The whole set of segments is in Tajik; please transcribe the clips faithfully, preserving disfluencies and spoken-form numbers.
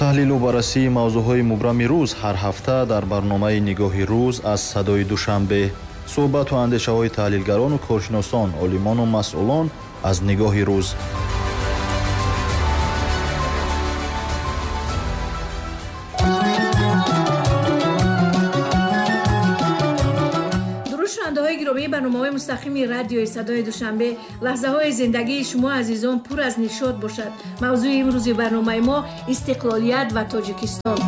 Таҳлилу баррасии мавзӯъҳои мубрами рӯз ҳар ҳафта дар барномаи Нигоҳи рӯз аз Садои Душанбе. Суҳбату андешаҳои таҳлилгарону коршиносон, олимону масъулон аз Нигоҳи рӯз. Барномаҳои мустақими радиои Садои Душанбе, лаҳзаҳои зиндагии шумо азизон пур аз нишот бошад. Мавзӯи имрӯзи барномаи мо истиқлолият ва Тоҷикистон.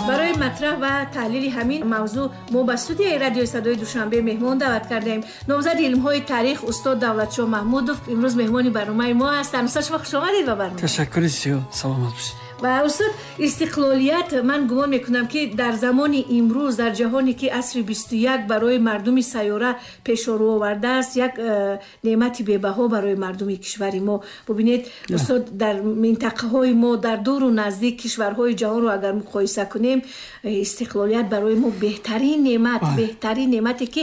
Барои матраҳ ва таҳлили ҳамин мавзӯъ мо ба студияи радиои Садои Душанбе меҳмон даъват кардаем. Номзади илмҳои таърих устод Давлатшоҳ Маҳмудов имрӯз меҳмони барномаи мо ҳастанд. Устод, шумо хуш омадед ба барнома. Ташаккури зиёд, саломат бошед. Ва устод, истиқлолият ман гумон мекунам ки дар замони имрӯз, дар ҷаҳоне ки асри бисту як барои мардуми сайёра пешорӯ овардааст, як э, неъмати бебаҳо барои мардуми кишвари мо. Бубинед устод, дар минтақаҳои мо, дар дуру наздик кишварҳои ҷаҳонро агар муқоиса кунем, истиқлолият барои мо беҳтарин неъмат, беҳтарин неъмате ки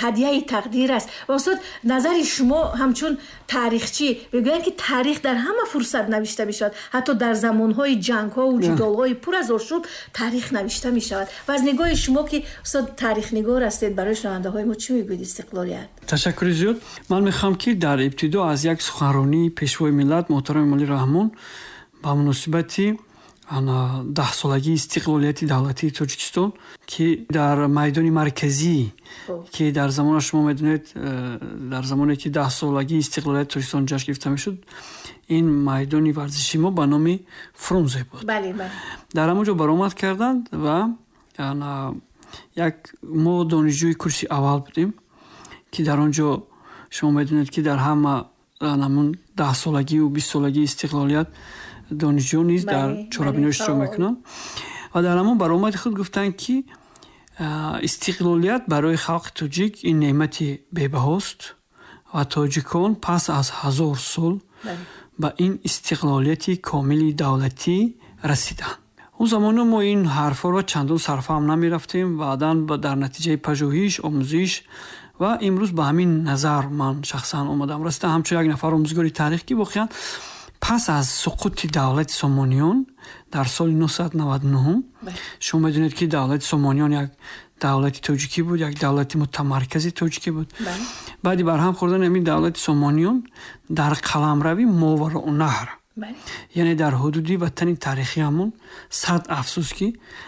ҳадияи тақдир аст. Ва устод, назари шумо ҳамчун таърихчӣ, мегӯянд ки таърих дар ҳама фурсат навишта мешавад, ҳатто дар замонҳо ҳои ҷангҳо ва ҷудолҳои пур аз ошӯб таърих навишта мешавад. Ва аз нигоҳи шумо ки устод таърихнигор ҳастед, барои шунавандаҳои мо чӣ мегӯед истиқлолият? Ташаккури зиёд. Ман мехоҳам ки дар ибтидо аз як суханронии пешвои миллат муҳтарам Эмомалӣ Раҳмон ба муносибати даҳсолагии истиқлолияти давлатии Тоҷикистон, ки дар майдони марказӣ, ки дар замона шумо медонед, дар замоне ки даҳсолагии истиқлолияти Тоҷикистон ҷашн гирифта мешуд, ин майдони варзиши мо ба номи Фрунзе буд. Бале, бале. Дар ҳамон ҷо баромад карданд ва як мо донишҷӯи курси аввал будем, ки дар он ҷо шумо медонед ки дар ҳама ҳамон даҳсолагию бистсолагии истиқлолият донишҷӯ низ дар чорабиниҳо иштирок мекунанд. Ва дар ҳамон баромади худ гуфтанд ки истиқлолият барои халқи тоҷик ин неъмати бебаҳост ва тоҷикон пас аз ҳазор сол ба ин истиқлолияти комили давлатӣ расиданд. Он замона мо ин ҳарфҳоро чандон сарфаҳм намерафтем, баъдан дар натиҷаи пажӯҳиш, омӯзиш ва имрӯз ба ҳамин назар ман шахсан омадам расидам, ҳамчун як нафар омӯзгори таърих, ки воқеан пас аз суқути давлати Сомониён дар соли нӯҳсаду наваду нӯҳум, шумо медонед ки давлати Сомониён як давлати тоҷикӣ буд, як давлати мутамаркази тоҷикӣ буд. Баъди барҳам хӯрдани ҳамин давлати Сомониён дар қаламрави Мовароуннаҳр, яъне дар ҳудуди ватани таърихиамон, сад афсӯс ки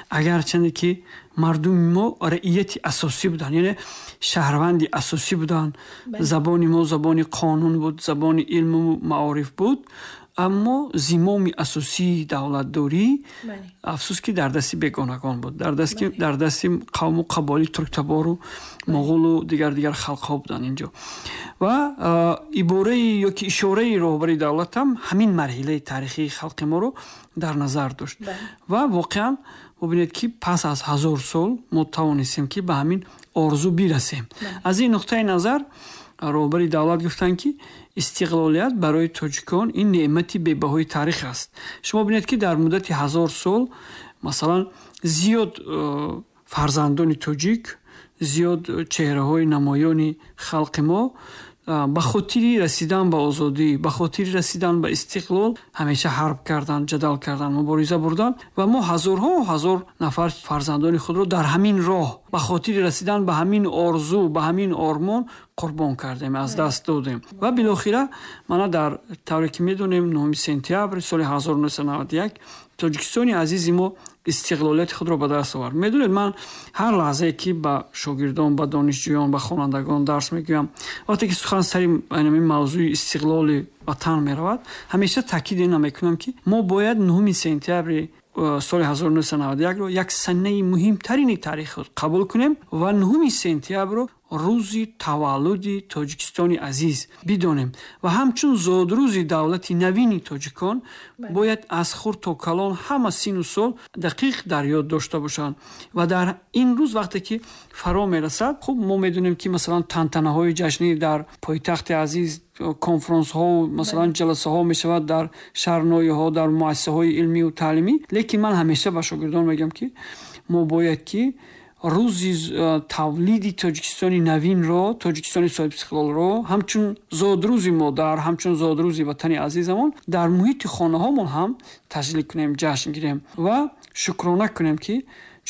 агарчанде ки мардуми мо раияти асосӣ буданд, яъне шаҳрванди асосӣ буданд, забони мо забони қонун буд, забони илму маориф буд, аммо зимоми асосии давлатдорӣ афсӯс ки дар дасти бегонагон буд, дар дасти дар дасти қавму қабоили турктабору моғулу дигар дигар халқҳо буданд инҷо. Ва ибораи ё ки ишораи роҳбари давлат ҳам ҳамин марҳилаи таърихии халқи моро дар назар дошт. Ва воқеан бубинед ки пас аз ҳазор сол мо тавонистем ки ба ҳамин орзу бирасем. Аз ин нуқтаи назар роҳбари давлат гуфтанд ки истиқлолият барои тоҷикон ин неъмати бебаҳои таърих аст. Шумо бинед ки дар муддати ҳазор сол масалан зиёд фарзандони тоҷик, зиёд чеҳраҳои намоёни халқи мо ба хотири расидан ба озодӣ, ба хотири расидан ба истиқлол ҳамеша ҳарб карданд, ҷадал карданд, мубориза бурданд ва мо ҳазорҳо ҳазор нафар фарзандони худро дар ҳамин роҳ ба хотири расидан ба ҳамин орзу, ба ҳамин ормон қурбон кардем, аз даст додем. Ва билохира мана дар тавре ки медонем нӯҳуми сентябри соли ҳазору нӯҳсаду наваду як Тоҷикистони азизи мо истиқлолияти худро ба даст овард. Медонед, ман ҳар лаҳзае ки ба шогирдон, ба донишҷӯён, ба хонандагон дарс мегӯям, вақте ки сухан сари ҳамин мавзӯи истиқлоли ватан меравад, ҳамеша таъкид ина мекунам ки мо бояд нӯҳуми сентябри соли ҳазору нӯҳсаду наваду якро як санаи муҳимтарини таърихи худ қабул кунем ва нӯҳуми сентябрро рӯзи таваллуди Тоҷикистони азиз бидонем ва ҳамчун зодрӯзи давлати навини тоҷикон бояд аз хурд то калон ҳама сину сол дақиқ дар ёд дошта бошанд. Ва дар ин рӯз вақте ки фаро мерасад, хуб мо медонем ки масалан тантанаҳои ҷашнӣ дар пойтахти азиз, конфронсҳо, масалан ҷаласаҳо мешавад дар шаҳрноиҳо, дар муассисаҳои илмию таълимӣ. Лекин ман ҳамеша ба шогирдон мегӯям ки мо бояд ки рӯзи тавлиди Тоҷикистони навинро, Тоҷикистони соҳибистиқлолро ҳамчун зодрӯзи модар, ҳамчун зодрӯзи ватани азизамон дар муҳити хонаҳомон ҳам таҷлил кунем, ҷашн гирем ва шукрона кунем, ки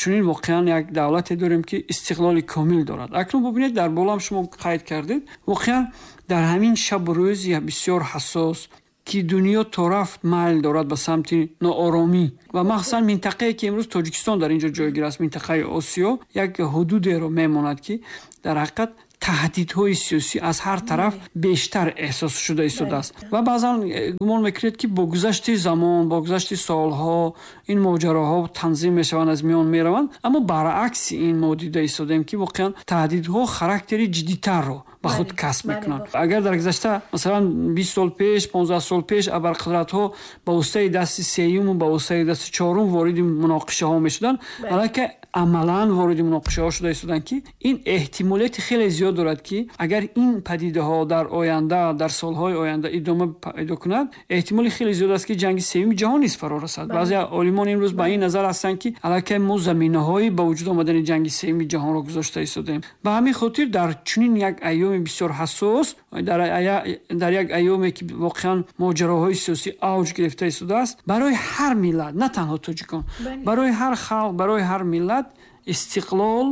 чунин воқеан як давлате дорем, ки истиқлоли комил дорад. Акнун бубинед, дар болоам шумо қайд кардед, воқеан дар ҳамин шабу рӯзи бисёр ҳассос, ки дунё то рафт майл дорад ба самти нооромӣ ва махсусан минтақае, ки имрӯз Тоҷикистон дар ин ҷо ҷойгир аст, минтақаи Осиё, як ҳудудеро мемонад, ки дар ҳақиқат таҳдидҳои сиёсӣ аз ҳар тараф бештар эҳсос шуда истодааст. Ва баъзан гумон мекунед, ки бо гузашти замон, бо гузашти солҳо ин моҷароҳо танзим мешаванд, аз миён мераванд, аммо баръакси ин мо дида истодаем, ки воқеан таҳдидҳо характери ҷиддитарро ба худ касб мекунанд. Агар дар гузашта, масалан, бист сол пеш, понздаҳ сол пеш абарқудратҳо ба воситаи дасти сеюму ба воситаи дасти чорум вориди муноқишаҳо мешуданд, аллакай амалан вориди муноқишаҳо шуда истоданд, ки ин эҳтимолияти хеле зиёд дорад, ки агар ин падидаҳо дар оянда, дар солҳои оянда идома пайдо кунад, эҳтимоли хеле зиёд аст, ки ҷанги сеюми ҷаҳон низ фаро расад. Баъзе олимон имрӯз ба ин назар ҳастанд, ки аллакай мо заминаҳои ба вуҷуд омадани ҷанги сеюми ҷаҳонро гузошта истодаем. Ба ҳамин хотир дар чунин як айёми бисёр ҳассос, дар як айёме, ки воқеан моҷароҳои сиёсӣ авҷ гирифта истодааст, барои ҳар миллат, на танҳо тоҷикон, барои ҳар халқ, барои ҳар миллат истиқлол,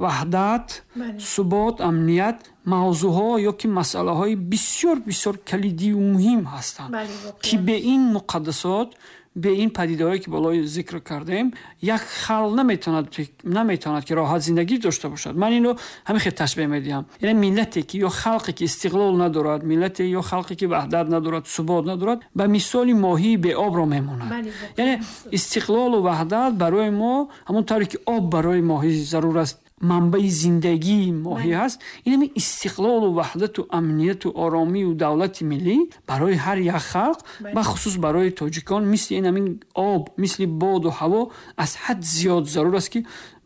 ваҳдат, субот, амният мавзӯъҳо ё ки масъалаҳои бисёр бисёр калидию муҳим ҳастанд, ки бе ин муқаддасот, бе ин падидаҳое, ки болои зикр кардем, як халқ наметавонад наметавонад ки роҳат зиндагӣ дошта бошад. Ман инро ҳамин хел ташбеҳ медиҳам. Яъне миллате ки ё халқе ки истиқлол надорад, миллате ё халқе ки ваҳдат надорад, субот надорад, ба мисоли моҳии беобро мемонад. Яъне истиқлолу ваҳдат барои мо ҳамон тавре ки об барои моҳӣ зарур аст, манбаи зиндагии моҳӣ ҳаст, ин ҳамин истиқлолу ваҳдату амнияту оромию давлати миллӣ барои ҳар як халқ, бахусус барои тоҷикон, мисли ин ҳамин об, мисли боду ҳаво аз ҳад зиёд зарур аст, ки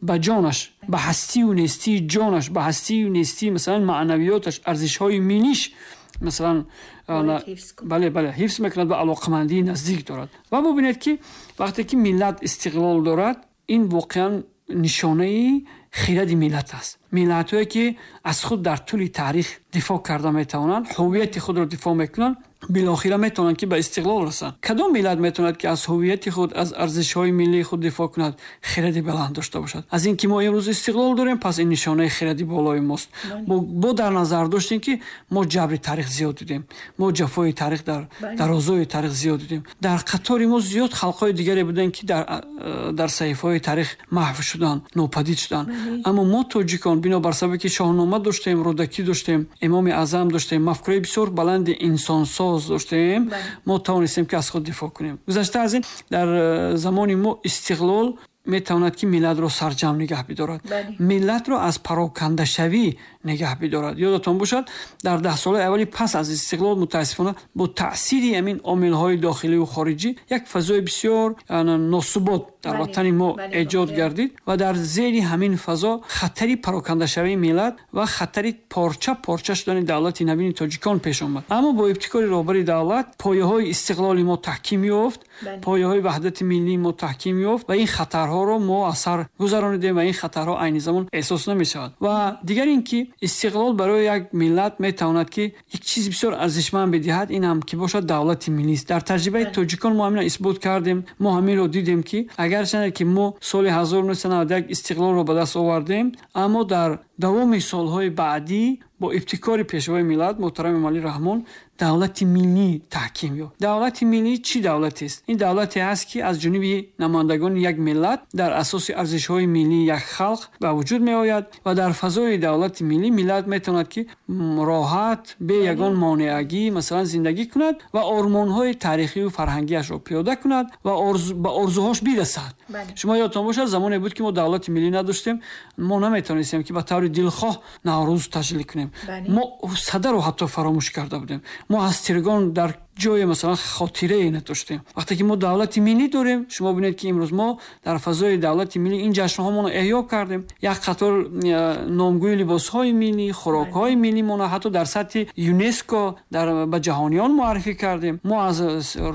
ба ҷонаш, ба ҳастию нестии ҷонаш, ба ҳастию нестии масалан маънавиёташ, арзишҳои миллиш масалан бале бале ҳифз мекунад ва алоқамандии наздик дорад. Ва бубинед, ки вақте ки миллат истиқлол дорад, ин воқеан нишонаи хиради миллат аст. Миллатҳое, ки аз худ дар тӯли таърих дифоъ карда метавонанд, ҳувияти худро дифоъ мекунанд, билохира метавонанд, ки ба истиқлол расанд. Кадом миллат метавонад, ки аз ҳувияти худ, аз арзишҳои миллии худ дифоъ кунад, хиради баланд дошта бошад? Аз ин ки мо имрӯз истиқлол дорем, пас ин нишонаи хиради болои мост. Бо дар назар доштем, ки мо ҷабри таърих зиёд дидем, мо ҷафои таърих дар дарозои таърих зиёд дидем. Дар қатори мо зиёд халқҳои дигаре буданд, ки дар саҳифаҳои таърих маҳв шуданд, нопадид шуданд. Аммо мо тоҷикон, бинобар сабабе ки Шоҳнома доштем, Рӯдакӣ доштем, Имоми Аъзам доштем, мафкураи бисёр баланди инсонсоз доштем, мо тавонистем, ки аз худ дифоъ кунем. Гузашта аз ин, дар замони мо истиқлол метавонад, ки миллатро сарҷамъ нигаҳ бидорад, миллатро аз парокандашавӣ нигаҳ бидорад. Ёдатон бошад, дар даҳсолаи аввали пас аз истиқлол мутаассифона бо таъсири ҳамин омилҳои дохиливу хориҷӣ як фазои бисёр носубот дар ватани мо эҷод гардид ва дар зери ҳамин фазо хатари парокандашавии миллат ва хатари порча порча шудани давлати навини тоҷикон пеш омад. Аммо бо ибтикори роҳбари давлат пояҳои истиқлоли мо таҳким ёфт, пояҳои ваҳдати миллии мо таҳким ёфт ва ин хатарҳоро мо аз сар гузаронидем ва ин хатарҳо айни замон эҳсос намешавад. Ва дигар ин ки истиқлол барои як миллат метавонад, ки як чизи бисёр арзишманд бидиҳад, ин ҳам ки бошад давлати миллист. Дар таҷрибаи тоҷикон мо ҳаминро исбот кардем, мо ҳаминро дидем, ки агарчанде ки мо соли ҳазору нӯҳсаду наваду як истиқлолро ба даст овардем, аммо дар давоми солҳои баъдӣ бо ибтикори пешвои миллат муҳтарам Эмомалӣ Раҳмон давлати миллӣ таҳким ёфт. Давлати миллӣ чӣ давлатест? Ин давлате ҳаст, ки аз ҷониби намояндагони як миллат дар асоси арзишҳои миллии як халқ ба вуҷуд меояд ва дар фазои давлати миллӣ миллат метавонад, ки роҳат, бе ягон монеагӣ масалан зиндагӣ кунад ва ормонҳои таърихию фарҳангиашро пиёда кунад ва ба орзуҳош бирасад. Шумо ёдтон бошад, замоне буд, ки мо давлати миллӣ надоштем, мо наметавонистем, ки ба таври дилхоҳ Наврӯз таҷлил кунем. Мо садаро ҳатто фаромӯш карда будем. Мо аз Тиргон дар ҷое масалан хотирае надоштем. Вақте ки мо давлати миллӣ дорем, шумо бинед ки имрӯз мо дар фазои давлати миллӣ ин ҷашнҳомонро эҳё кардем. Як қатор номгӯи либосҳои миллӣ, хӯрокҳои миллимонро ҳатто дар сатҳи ЮНЕСКО дар ба ҷаҳониён муаррифӣ кардем. Мо аз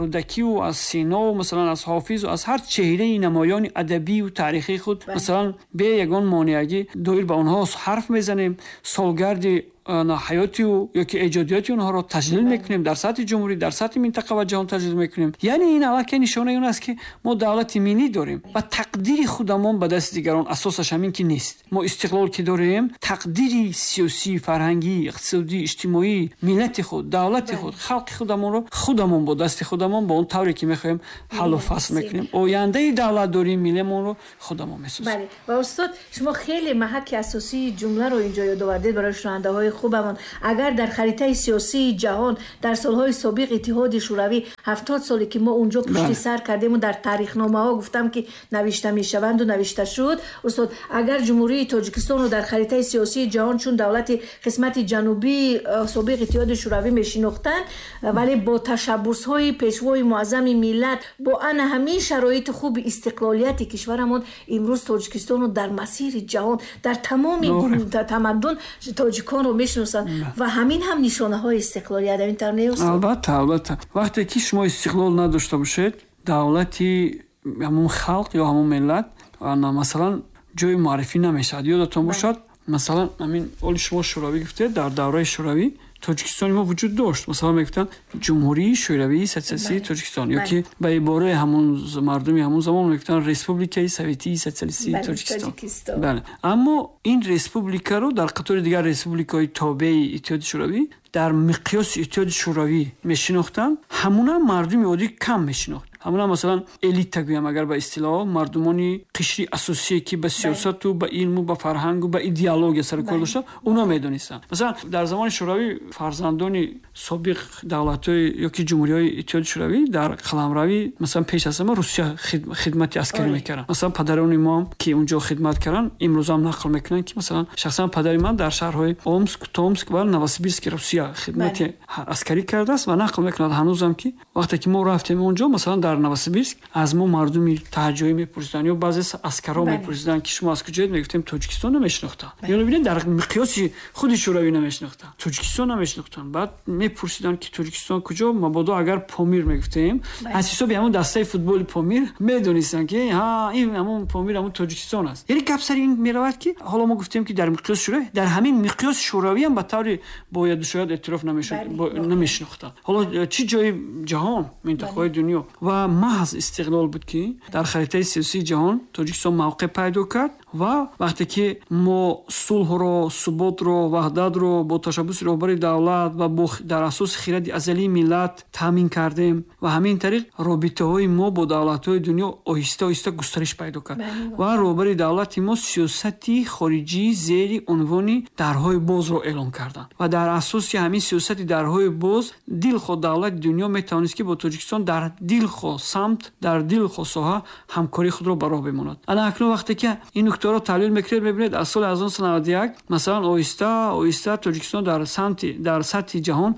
Рӯдакиву аз Синову масалан аз Ҳофизу аз ҳар чеҳраи намоёни адабию таърихии худ масалан бе ягон монеагӣ доир ба онҳо ҳарф мезанем, солгарди ҳаёти ӯ ё ки эҷодиёти онҳоро таҷлил мекунем дар сатҳи ҷумҳурӣ, дар сатҳи минтақа ва ҷаҳон таҷлил мекунем. Яъне ин аллакай нишонаи он аст ки мо давлати миллӣ дорем ва тақдири худамон ба дасти дигарон асосаш ҳамин ки нест. Мо истиқлол ки дорем, тақдири сиёсӣ, фарҳангӣ, иқтисодӣ, иҷтимоӣ миллати худ, давлати худ, халқи худамонро худамон бо дасти худамон бо он тавре ки мехоҳем ҳаллу фасл мекунем. Ояндаи давлатдории миллиамонро худамон месозем. Бале. Ва устод, шумо хеле маҳаки асосии ҷумларо инҷо ёд овардед барои шунавандаҳои хубамон. Агар дар харитаи сиёсии ҷаҳон дар солҳои собиқ Иттиҳоди Шӯравӣ ҳафтод соле ки мо унҷо пушти сар кардему дар таърихномаҳо гуфтам ки навишта мешаванду навишта шуд, устод, агар Ҷумҳурии Тоҷикистонро дар харитаи сиёсии ҷаҳон чун давлати қисмати ҷанубии собиқ Иттиҳоди Шӯравӣ мешинохтанд, вале бо ташаббусҳои пешвои муаззами миллат, бо ана ҳамин шароити хуби истиқлолияти кишварамон имрӯз Тоҷикистонро дар масири ҷаҳон, дар тамоми тамаддун тоҷиконро мешиносанд ва ҳамин ҳам нишонаҳои истиқлолият. Ин тавр не, устод? Албатта, албатта. Вақте ки шумо истиқлол надошта бошед, давлати ҳамон халқ ё ҳамон миллат масалан ҷои муаррифӣ намешавад. Ёдатон бошад, масалан ҳамин оли шумо Шӯравӣ гуфтед, дар давраи Шӯравӣ Тоҷикистони мо вуҷуд дошт. Масалан мегуфтанд Ҷумҳурии Шӯравии Социалистии Тоҷикистон ё ки ба ибораи ҳамон мардуми ҳамон замон мегуфтанд Республикаи Советии Социалистии Тоҷикистон. Бале. Аммо ин республикаро дар қатори дигар республикаҳои тобеи Иттиҳоди Шӯравӣ дар миқёси Иттиҳоди Шӯравӣ мешинохтанд, ҳамона мардуми оддӣ кам мешинохт. Ҳамона масалан элита гӯям агар ба истилоҳ, мардумони қишри асосие ки ба сиёсату ба илму ба фарҳангу ба идеология сарукор доштанд, оно медонистанд. Масалан дар замони Шӯравӣ фарзандони собиқ давлатҳои ё ки ҷумҳуриҳои Иттиҳоди Шӯравӣ дар қаламрави масалан пеш аз ҳама Русия хидмати аскарӣ мекарданд. Масалан падарони мо ки унҷо хидмат карданд, имрӯзам нақл мекунанд ки масалан шахсан падари ман дар шаҳрҳои Омск, Томск ва Новосибирски Русия хидмати аскарӣ кардааст ва нақл мекунад ҳанӯзам ки вақте ки мо рафтем онҷо, масалан дар Новосибирск аз мо мардуми таҳҷоӣ мепурсиданд ё баъзе аскарҳо мепурсиданд ки шумо аз куҷоед, мегуфтем Тоҷикистон намешинохтанд. Ё бибинед дар миқёси худи Шӯравӣ намешинохтанд, Тоҷикистон намешинохтанд. Баъд мепурсиданд ки Тоҷикистон куҷо, мабодо агар Помир мегуфтем, аз ҳисоби ҳамон дастаи футболи Помир медонистанд ки ҳа ин ҳамон Помир ҳамон Тоҷикистон аст. Яъне гап сари ин меравад ки ҳоло мо гуфтем ки дар миқёси Шӯравӣ, дар ҳамин миқёси Шӯравӣ ҳам ба таври бояду шояд эътироф намешуд, намешинохтанд. Ҳоло чӣ ҷои ҷаҳон, минтақаҳои дунё ва маҳз истиқлол буд ки дар харитаи сиёсии ҷаҳон Тоҷикистон мавқеъ пайдо кард ва вақте ки мо сулҳро, суботро, ваҳдатро бо ташаббуси роҳбари давлат ва бо дар асоси хиради азалии миллат таъмин кардем ва ҳамин тариқ робитаҳои мо бо давлатҳои дунё оҳиста оҳиста густариш пайдо кард ва роҳбари давлати мо сиёсати хориҷӣ зери унвони дарҳои бозро эълон карданд ва дар асоси ҳамин сиёсати дарҳои боз дилхоҳ давлати дунё метавонист ки бо Тоҷикистон дар дилхоҳ самт, дар дилхоҳ соҳа ҳамкории худро ба роҳ бимонад. Ана акнун вақте ки ин нуктаро таҳлил мекунед, мебинед аз соли ҳазору нӯҳсаду наваду як масалан оҳиста оҳиста Тоҷикистон дар самти дар сатҳи ҷаҳон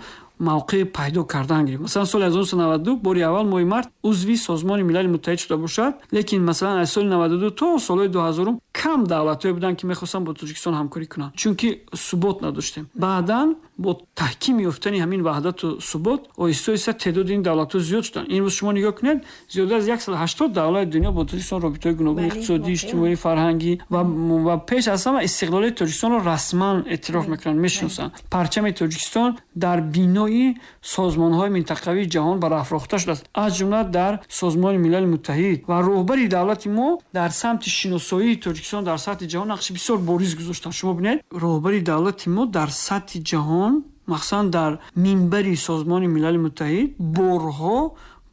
мавқеъ пайдо кардан гирифт. Масалан соли ҳазору нӯҳсаду наваду ду бори аввал моҳи март узви Созмони Милали Муттаҳид шуда бошад, лекин масалан аз соли наваду ду то солҳои дуҳазорум кам давлатҳое буданд ки мехостанд бо Тоҷикистон ҳамкорӣ кунанд, чунки субот надоштем. Баъдан бо таҳким ёфтани ҳамин ваҳдату субот оҳиста оҳиста теъдоди ин давлатҳо зиёд шуданд. Имрӯз шумо нигоҳ кунед, зиёда аз яксаду ҳаштод давлати дунё бо Тоҷикистон робитаҳои гуногуни иқтисодӣ, иҷтимоӣ, фарҳангӣ ва ва пеш аз ҳама истиқлолияти Тоҷикистонро расман эътироф мекунанд, мешиносанд. Парчами Тоҷикистон дар бинои созмонҳои минтақавии ҷаҳон барафрохта шудааст, аз ҷумла дар Созмони Милали Муттаҳид ва роҳбари давлати мо дар самти шиносоии Тоҷикистон дар сатҳи ҷаҳон нақши бисёр бориз гузоштанд. Шумо бинед, роҳбари давлати мо дар сатҳи ҷаҳон, махсусан дар минбари Созмони Милали Муттаҳид борҳо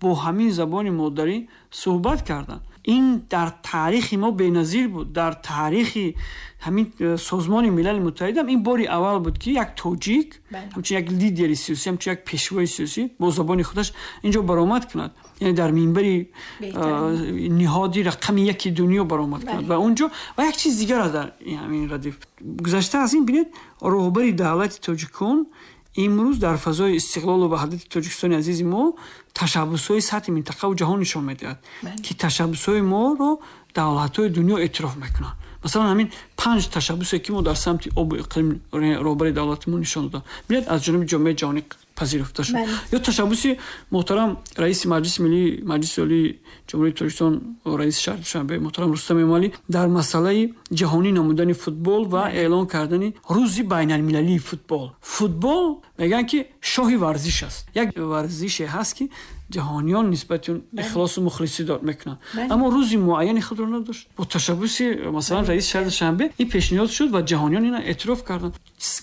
бо ҳамин забони модарӣ суҳбат карданд. Ин дар таърихи мо беназир буд. Дар таърихи ҳамин Созмони Милали Муттаҳид ҳам ин бори аввал буд ки як тоҷик, ҳамчун як лидери сиёсӣ, ҳамчун як пешвои сиёсӣ бо забони худаш инҷо баромад кунад, яъне дар минбари ниҳоди рақами яки дунё баромад кунад ва онҷо ва як чиз дигар аст дар ҳамин радиф. Гузашта аз ин бинед, роҳбари давлати тоҷикон Имрӯз дар фазои истиқлолу ваҳдати Тоҷикистони азизи мо ташаббусҳои сатҳи минтақаву ҷаҳон нишон медиҳад, ки ташаббусҳои моро давлатҳои дунё эътироф мекунанд. Масалан, ҳамин панҷ ташаббусе ки мо дар самти обу иқлим роҳбари давлати мо нишон додам, бинед, аз ҷониби ҷомеаи ҷаҳонӣ пазируфта шуд. Ё ташаббуси муҳтарам раиси Маҷлиси Миллии Маҷлиси Олии Ҷумҳурии Тоҷикистон, раиси шаҳри Душанбе муҳтарам Рустам Эмомалӣ дар масъалаи ҷаҳонӣ намудани футбол ва эълон кардани рӯзи байналмилалии футбол. Футбол мегӯянд ки шоҳи варзиш аст. Як варзише ҳаст ки ҷаҳониён нисбати он ихлосу мухлисӣ дод мекунанд, аммо рӯзи муайяни худро надошт. Бо ташаббуси масалан раиси шаҳри Душанбе ин пешниҳод шуд ва ҷаҳониён ина эътироф карданд.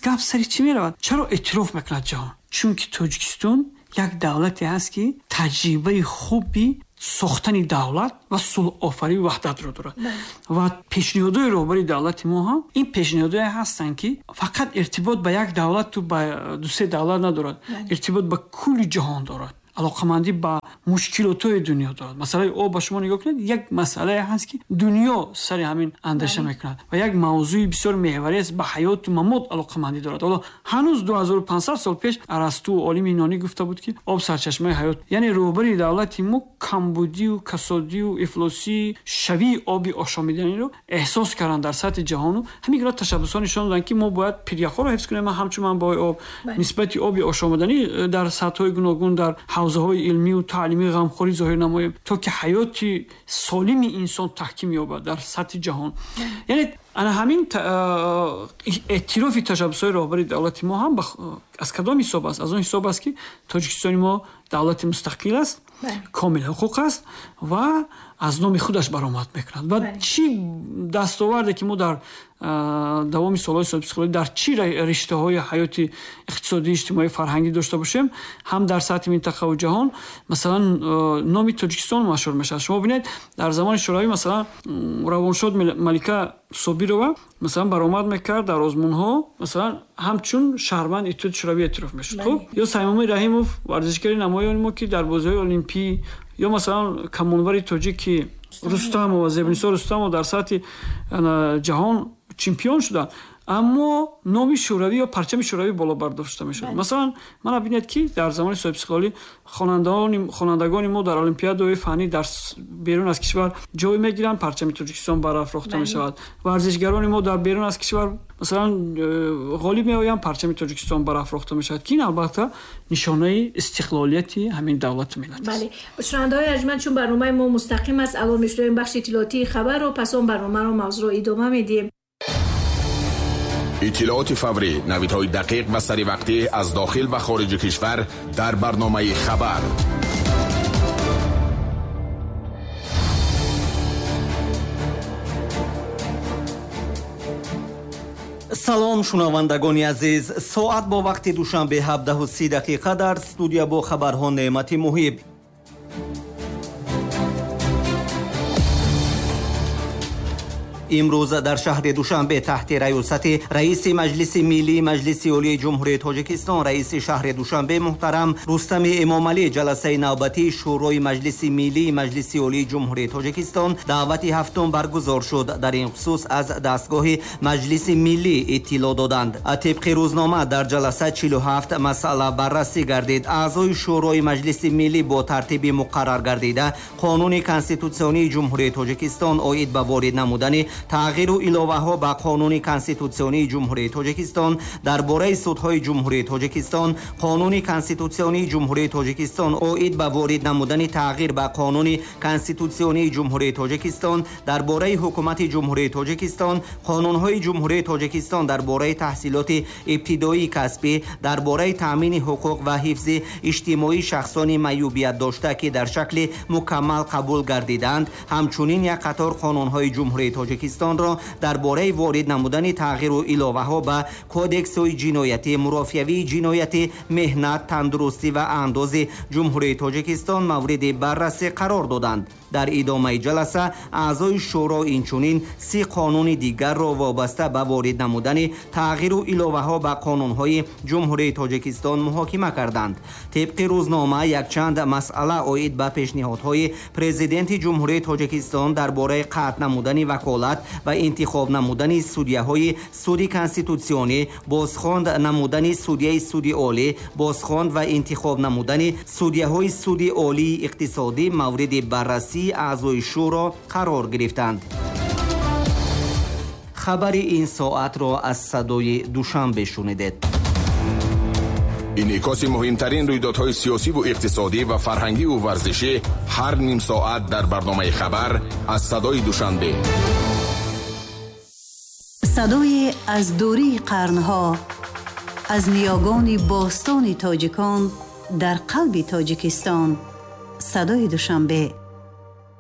Гап сари чӣ меравад? Чаро эътироф мекунад ҷаҳон? Чунки Тоҷикистон як давлате ҳаст ки таҷрибаи хуби сохтани давлат ва сулҳофарию ваҳдатро дорад. Ва пешниҳодҳои роҳбари давлати мо ҳам ин пешниҳодҳое ҳастанд ки фақат иртибот ба як давлату ба дусе давлат надорад, иртибот ба кулли ҷаҳон дорад, алоқамандӣ ба мушкилотҳои дунё дорад. Масъалаи об ба шумо нигоҳ кунед, як масъалае ҳаст ки дунё сари ҳамин андеша мекунад ва як мавзӯи бисёр меҳварӣ аст, ба ҳаёту мамот алоқамандӣ дорад. Ҳоло ҳанӯз ду ҳазору панҷсад сол пеш Арасту олими юнонӣ гуфта буд ки об сарчашмаи ҳаёт. Яъне роҳбари давлати мо камбудию касодию ифлосии шавии оби ошомиданиро эҳсос карданд дар сатҳи ҷаҳону ҳамин гуна ташаббусҳо нишон доданд ки мо бояд пиряхҳоро ҳифз кунем. Ҳамчун манбаъҳои об нисбати оби ошомиданӣ дар сатҳҳои гуногун дар ҳавзаҳои илмию таълимӣ ғамхорӣ зоҳир намоем, то ки ҳаёти солими инсон таҳким ёбад дар сатҳи ҷаҳон. Яъне ана ҳамин эътирофи ташаббусҳои роҳбари давлати мо ҳам аз кадом ҳисоб аст? Аз он ҳисоб аст ки Тоҷикистони мо давлати мустақил аст, комил ҳуқуқ аст ва аз номи худаш баромад мекунад. Ва чӣ дастоварде ки мо дар давоми солҳои соҳибистиқлолӣ дар чӣ риштаҳои ҳаёти иқтисодӣ, иҷтимоӣ, фарҳангӣ дошта бошем, ҳам дар сатҳи минтақаву ҷаҳон, масалан, номи Тоҷикистон машҳур мешавад. Шумо бинед, дар замони Шӯравӣ масалан равоншод Малика Собирова масалан баромад мекард дар озмунҳо, масалан ҳамчун шаҳрванд Иттиҳоди Шӯравӣ эътироф мешуд. Хуб, ё Саймумин Раҳимов, варзишгари намоёни мо ки дар бозиҳои олимпӣ, ё масалан камонвари тоҷик ки Рустамова, Зебнисо Рустамова дар сатҳи ҷаҳон чемпион шуданд, аммо номи Шӯравӣ ё парчами Шӯравӣ боло бардошта мешуд. Масалан, мана бинед ки дар замони соҳибистиқлолӣ хонандагони мо дар олимпиадаҳои фаннӣ дар берун аз кишвар ҷой мегиранд, парчами Тоҷикистон барафрохта мешавад. Варзишгарони мо дар берун аз кишвар масалан ғолиб меоянд, парчами Тоҷикистон барафрохта мешавад, ки ин албатта нишонаи истиқлолияти ҳамин давлату миллат аст. Бале, шунавандаҳои арҷманд, чун барномаи мо мустақим аст, алон мешунавем бахши иттилоотии хабарро, пас он барномаро мавзӯъро идома медиҳем. Иттилооти фаврӣ, навидҳои дақиқ ва саривақтӣ аз дохил ва хориҷи кишвар дар барномаи хабар. Салом шунавандагони азиз, соат бо вақти Душанбе ҳабдаҳу си дақиқа дар студия бо хабарҳо Неъмати Муҳиб. Имрӯз дар шаҳри Душанбе таҳти раёсати раиси Маҷлиси Миллии Маҷлиси Олии Ҷумҳурии Тоҷикистон, раиси шаҳри Душанбе муҳтарам Рустами Эмомалӣ ҷаласаи навбатии Шӯрои Маҷлиси Миллии Маҷлиси Олии Ҷумҳурии Тоҷикистон даъвати ҳафтум баргузор шуд. Дар ин хусус аз дастгоҳи Маҷлиси Миллӣ иттилоъ доданд. Тибқи рӯзнома дар ҷаласа чилу ҳафт масъала баррасӣ гардид. Аъзои Шӯрои Маҷлиси Миллӣ бо тартиби муқаррар гардида Қонуни Конститутсионии Ҷумҳурии Тоҷикистон оид ба ворид намудани тағйиру иловаҳо ба Қонуни Конститутсионии Ҷумҳурии Тоҷикистон дар бораи судҳои Ҷумҳурии Тоҷикистон, Қонуни Конститутсионии Ҷумҳурии Тоҷикистон оид ба ворид намудани тағйир ба Қонуни Конститутсионии Ҷумҳурии Тоҷикистон дар бораи Ҳукумати Ҷумҳурии Тоҷикистон, Қонунҳои Ҷумҳурии Тоҷикистон дар бораи таҳсилоти ибтидоии касбӣ, дар бораи таъмини ҳуқуқ ва ҳифзи иҷтимоии шахсони маъюбият дошта, ки дар шакли мукаммал қабул гардиданд, ҳамчунин як қатор қонунҳои Ҷумҳурии Тоҷикистонро дар бораи ворид намудани тағйиру иловаҳо ба кодексҳои ҷиноятӣ, мурофиавии ҷиноятӣ, меҳнат, тандурустӣ ва андози Ҷумҳурии Тоҷикистон мавриди баррасӣ қарор доданд. Дар идомаи ҷаласа аъзои шӯро инчунин си қонуни дигарро вобаста ба ворид намудани тағйиру иловаҳо ба қонунҳои Ҷумҳурии Тоҷикистон муҳокима карданд. Тибқи рӯзнома, якчанд масъала оид ба пешниҳодҳои Президенти Ҷумҳурии Тоҷикистон дар бораи қатъ намудани ваколат ва интихоб намудани судяҳои Суди Конститутсионӣ, бозхонд намудани судяи Суди Олӣ, бозхонд ва интихоб намудани судяҳои Суди Олии Иқтисодӣ мавриди баррасии аъзои шӯро қарор гирифтанд. Хабари ин соатро аз Садои Душанбе шунидед. Инъикоси муҳимтарин рӯйдодҳои сиёсиву иқтисодӣ ва фарҳангиву варзишӣ ҳар ним соат дар барномаи «Хабар» аз Садои Душанбе. Садое аз дурии қарнҳо, аз ниёгони бостони тоҷикон дар қалби Тоҷикистон. Садои Душанбе.